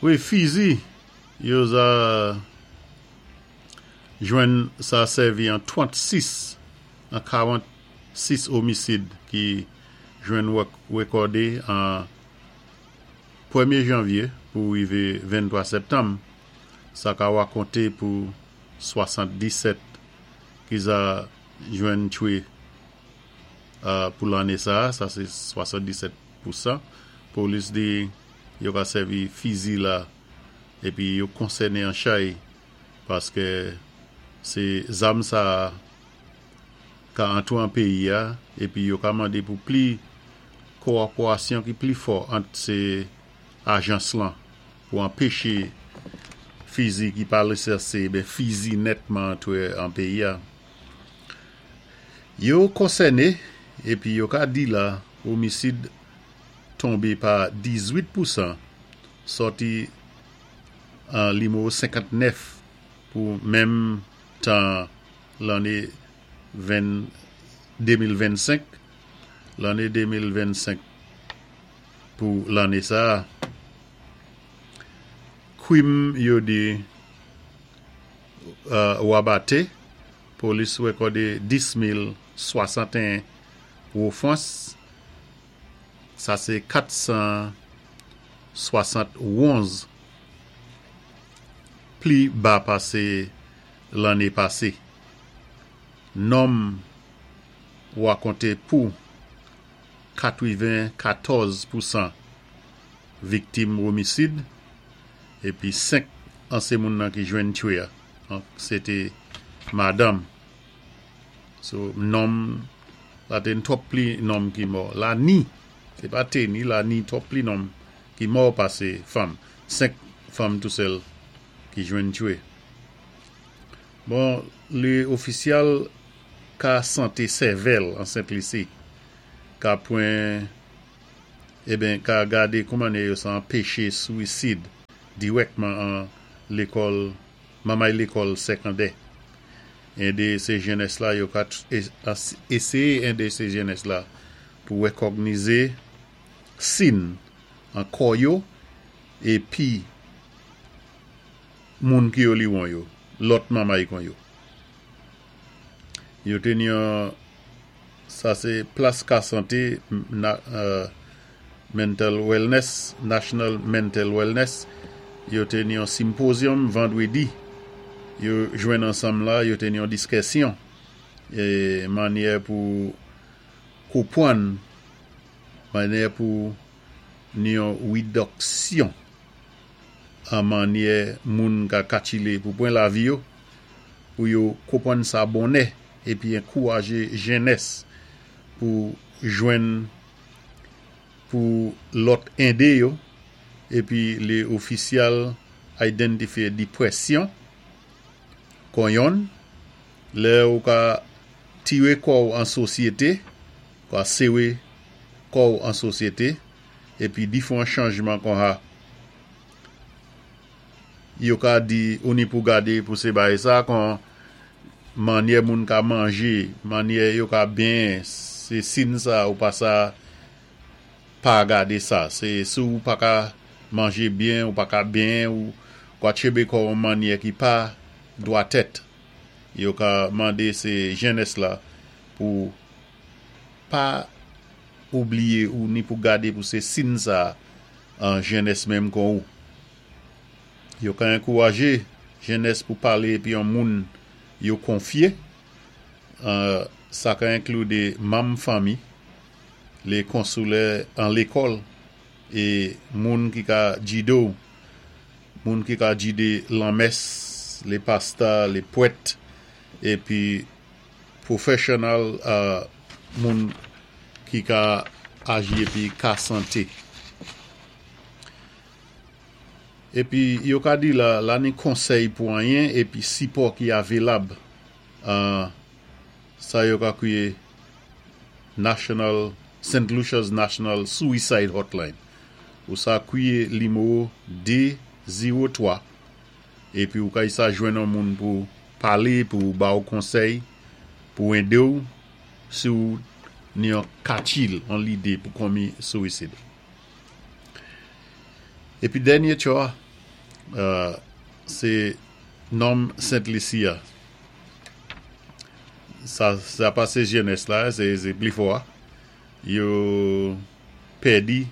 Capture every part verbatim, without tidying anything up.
Wi, fizi, yo za jwenn sa sèvi an trann-sis, an karant-sis omisid ki jwenn wékòdé an pwémyé janvyé pou wivé venntwa septanm. Sa ka wakonté pou swasann-disèt ki za jwenn tchwé pou lanné sa, sa sé swasann-disèt pousan. Polis di yo ka sèvi fizi la épi yo konsèné an chay paské sé zam sa ka antwé an péyi a épi yo ka mandé pou pli kowòpérasyon ki pli fò ant sé ajans lan pou anpéché fizi ki pa lisansé, ben fizi nètman antwé an péyi a. Yo konsèné épi yo ka di la omisid tonbé pa dizwit pousan sòti an nimewo senkannèf pou menm tan lanné de mil vennsenk, lanné de mil vennsenk pou lanné sa. Kwim yo di wabaté, polis wékòdé dis mil swasann-en wofans, sa sé kat san swasant-onz pli ba pasé lanné pasé. Nonm wakonté pou katwenn-katòz pousan viktim omisid épi senk an sé moun nan ki jwenn tchwé a. Sé té madanm. So, nonm, la té twòp pli nonm ki mò. La ni, sé pa té ni, la ni twòp pli nonm ki mò pasé fanm. Senk fanm tou sèl ki jwenn tchwé. Bon, lé ofisyal ka santé sèvèl an Sent Lisi ka pwen, eben, ka gadé kouman yo sa anpéché swisid dirèkman an lékòl, mamay lékòl sékondè. Édé sé jenès la, yo ka éséyé édé sé jenès la pou wékògnizé sin an kò yo épi moun ki yo liwon yo, lòt mamay kon yo. Yo té yon, sa sé plas ka santé mental wellness, National Mental Wellness, yo té yon symposium vandwédi, yo jwenn ansanm la, yo té yon diskisyon, é mannyè pou konpwann, mannyè pou yon widiksyon an mannyè moun ka katchilé pou pwan lavi yo, pou yo konpwann sa bonnè, épi ankourajé jenès pou jwenn pou lòt édé yo, épi lé ofisyal idantifyé dipwésyon kon yonn, lè ou ka tiré kò an sosyété, ka séwé kò an sosyété, épi difwan chanjman kon ha, yo ka di ou ni pou gadé pou sé bay sa kon mannyè moun ka manjé, mannyè yo ka byen, sé sin sa ou pa sa pa gadé sa. Sé sou ou pa ka manjé byen, ou pa ka byen, ou kwa tchébé kò mannyè ki pa dwatèt. Yo ka mandé sé jenès la pou pa oubliyé ou ni pou gadé pou sé sin sa an jenès menm kon ou. Yo ka ankourajé jenès pou palé épi yon moun yo konfyé. Sa ka enklidé manm fanmi, lé konsoulè an lékòl, é moun ki ka jidé ou, moun ki ka jidé lanmès, lé pastè, lé pwèt, épi professional moun ki ka aji épi ka santé. Épi yo ka di la, la ni konsèy pou anyen épi sipò ki avilab sa yo ka kwiyé National, Saint Lucia's National Suicide Hotline. Ou sa kwiyé nimewo de zewo twa épi ou ka sa jwenn an moun pou palé, pou ba ou konsèy, pou édé ou si ou ni an katchil an lidé pou konmi swisid. Épi dènyé tcho, Sé nonm Sent Lisi a. Sa, sa pa sé jenès la, sé, sé pli fò a. Yo pèdi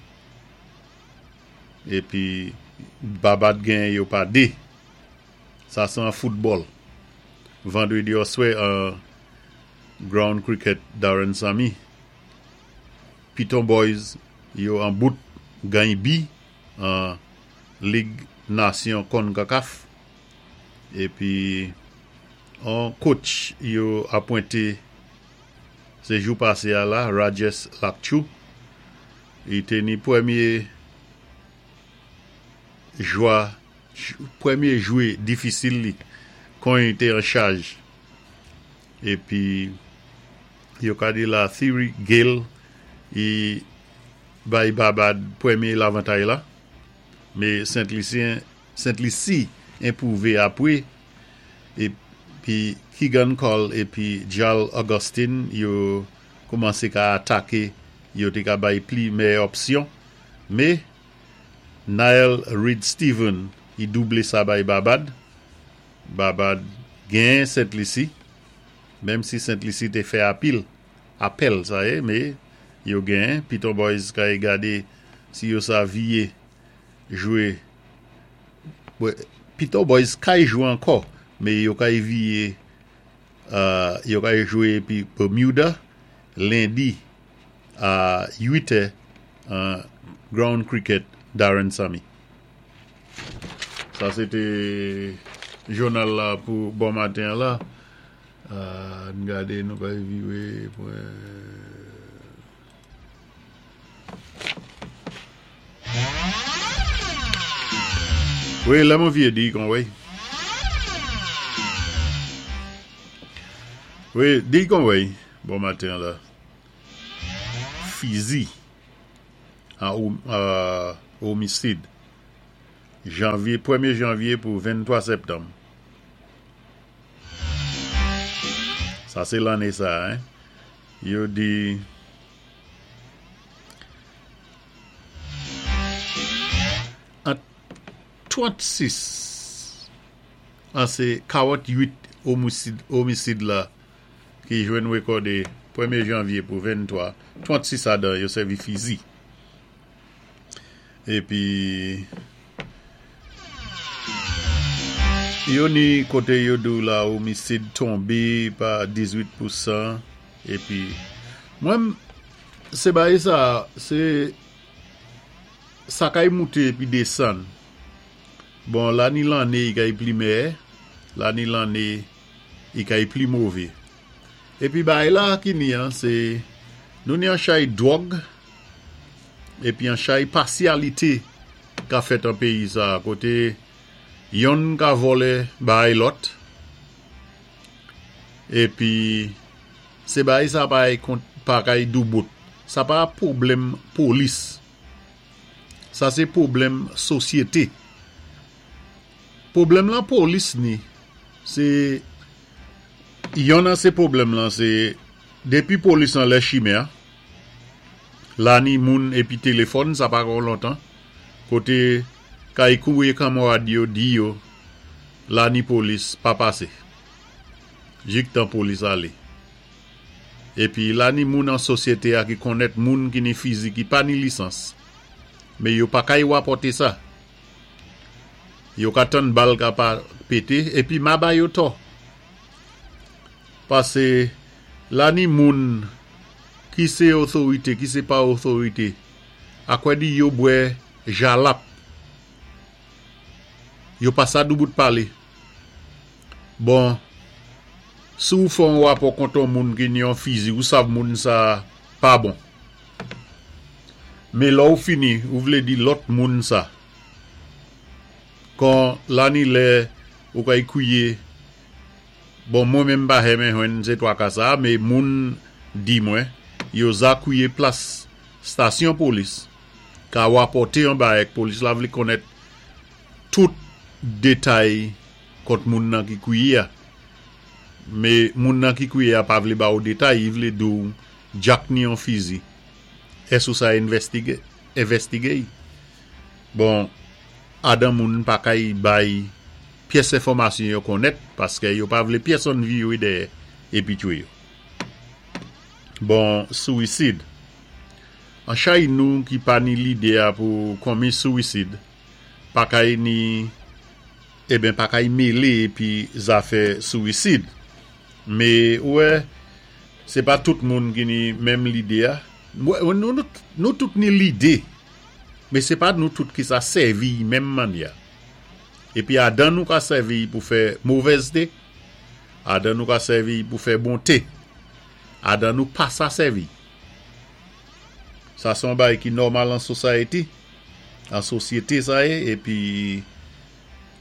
épi Babad genyen yo pa dé. Sa sé an foutbòl. Vandrédi oswè an ground cricket Darren Sammy. Piton Boys yo an bout gany bi an Lig Nasyon CONCACAF. Épi an coach yo apwenté sé jou pasé a la, Rajesh Latchoo. I té ni pwémyé jwa, pwémyé jwé difisil li kon i té an chaj. Épi yo ka di la Theory Gale i bay Babad pwémyé lavantay la. Mé Sent Lisyen, Sent Lisi enpwouvé apwé. Épi Keegan Cole épi Jal Augustine yo koumansé ka ataké, yo té ka bay pli méyè òpsyon. Mé Niall Reed Steven i doublé sa bay Babad. Babad genyen Sent Lisi, menm si Sent Lisi té fè apil, apèl sa yé, mé yo genyen. Piton Boys kay gadé si yo sa viyé jwé. Piton Boys kay jwé ankò, mé yo kay viyé, yo kay jwé épi Bermuda lendi a uit è an ground cricket Darren Sammy. Sa sé té jounal la pou bon maten la. Ann gadé nou kay viwé pwen. Wi, lè mwen viyé di kon wé. Wi, di kon wé, bon maten la. Fizi an omisid. Janvyé, pwémyé janvyé pou venntwa septanm. Sa sé lanné sa, hein. Yo di an trannsis an sé karanntwit omisid, omisid la ki jwenn wékòdé pwémyé janvyé pou venntwa, trannsis adan yo sèvi fizi. Épi yo ni koté yo di la omisid tonbé pa dizwit pousan. Épi mwen sé bagay sa, sé sa kay mouté épi désann. Bon, la ni lanné i kay pli méyè, la ni lanné i kay pli mové. Épi bagay la ki ni an, sé nou ni an chay dwòg épi an chay pasyalité ka fèt an péyi sa, koté yonn ka vòlè bagay lòt. Épi sé bagay sa pa pa kay doubout. Sa pa pwoblèm polis. Sa sé pwoblèm sosyété. Pwoblèm lan polis ni, sé yonn an sé pwoblèm lan sé dépi polis an lè chimen an, la ni moun épi téléfòn sa pa kon lontan, koté kay kouwé kanmarad yo di yo la ni polis pa pasé. Jiktan polis alé. Épi la ni moun an sosyété a ki konnèt moun ki ni fizi ki pa ni lisans. Mé yo pa kay wapòté sa. Yo ka tann bal ka pa pété épi ma ba yo tò. Pasé la ni moun ki sé otorité, ki sé pa otorité, akwè di yo bwè jalap. Yo pa sa doubout palé. Bon, si ou fè yon wapò kont yon moun ki ni yon fizi, ou sav moun sa pa bon. Mé lè ou fini, ou vlé di lòt moun sa. Kon la ni lè ou kay kouwiyé, bon mwen menm pa renmen jwenn sé twa ka sa, mé moun di mwen, yo za kouwiyé plas stasyon polis, ka wapòté yon bagay polis la vlé konnèt tout détay kont moun nan ki kouwiyé a. Mé moun nan ki kouwiyé a pa vlé ba ou détay, i vlé di ou djak ni yon fizi. Ès ou sa envèstigé, envèstigé? Bon, Adan moun pa kay bay pyès enfòmasyon yo konnèt paské yo pa vlé pyèsonn viwé dèyè épi tchwé yo. Bon, souwisid. An chay nou ki pa ni lidé a pou konmi souwisid, pa kay ni, eben pa kay mélé épi zafè souwisid. Mé, wè, sé pa tout moun ki ni menm lidé a. Nou, nou, nou tout ni lidé, mé sé pa nou tout ki sa sèvi menm mannyè. Épi adan nou ka sèvi pou fè movèzté, adan nou ka sèvi pou fè bonté, adan nou pa sa sèvi. Sa son bay ki nòmal an society, an sosyété sa yé, épi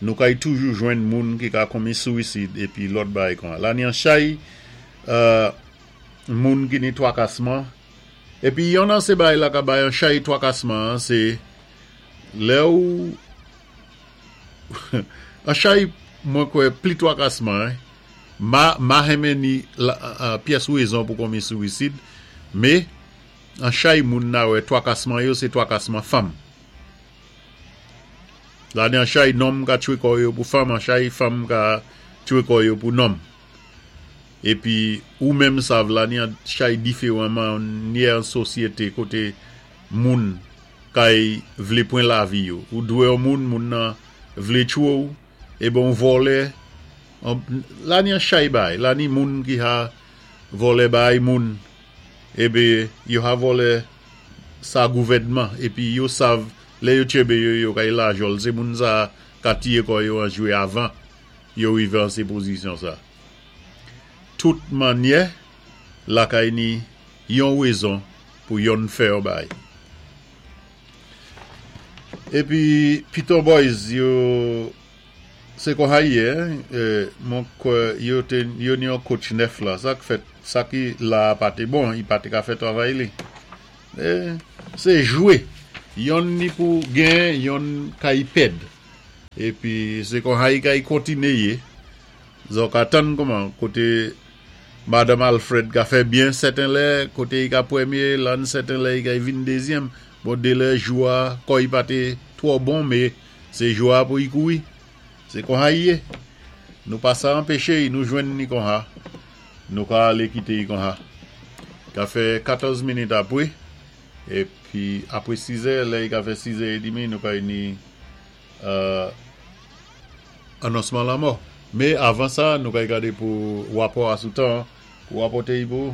nou kay toujou jwenn moun ki ka konmi souwisid épi lòt bay kon. La ni an chay, euh, moun ki ni twakasman, épi yon nan sé bay la ka bay an chay twakasman, sé lè ou an chay mwen kwè pli twakasman, ma, ma renmen ni la, uh, pyès wézon pou konmi souwisid, mé an chay moun na wè twakasman yo, sé twakasman fanm. La ni an chay nonm ka tchwé kò yo pou fanm, an chay fanm ka tchwé kò yo pou nonm. Épi ou menm sav la ni an chay diféwan mannyè an sosyété koté moun kay vlé pwan lavi yo. Ou dwé yon moun, moun nan vlé tchwé ou, é bon vòlè, la ni an chay bay, la ni moun ki ha vòlè bay moun, ébi yo ha vòlè sa gouvèdman, épi yo sav lè yo tchenbé yo yo kay lajòl, sé moun sa ka tiyé kò yo an jwé avan, yo rivé an sé pozisyon sa. Tout mannyè, lakay ni yon wézon pou yon fè yon bay. Épi Piton Boys yo sé kon ha yé, eh, mwen kwè yo té yo ni yon coach nèf la, sa k fèt, sa ki la pa té bon, i pa té ka fè travay li. Eh, sé jwé, yon ni pou gen, yon kay pèd. Épi sé kon ha yi kay kontiné yé, zòt ka tann kouman, koté Madame Alfred ka fè byen sèten lè, koté i ka pwémyé, lan sèten lè i kay vin dézyèm. Bon, dé lè jou a, kò i pa té twò bon, mé sé jou a pou i kouri. Sé kon ha yé. Nou pa sa anpéché, nou jwenn ni kon ha. Nou ka alé kité i kon ha. Ka fè katòz minit apwé, épi apwé sizè, lè i ka fè sizè é dimi, nou kay ni euh, anonsman lanmò. Mé avan sa, nou kay gadé pou wapò a sou tan, pou wapòté i pou.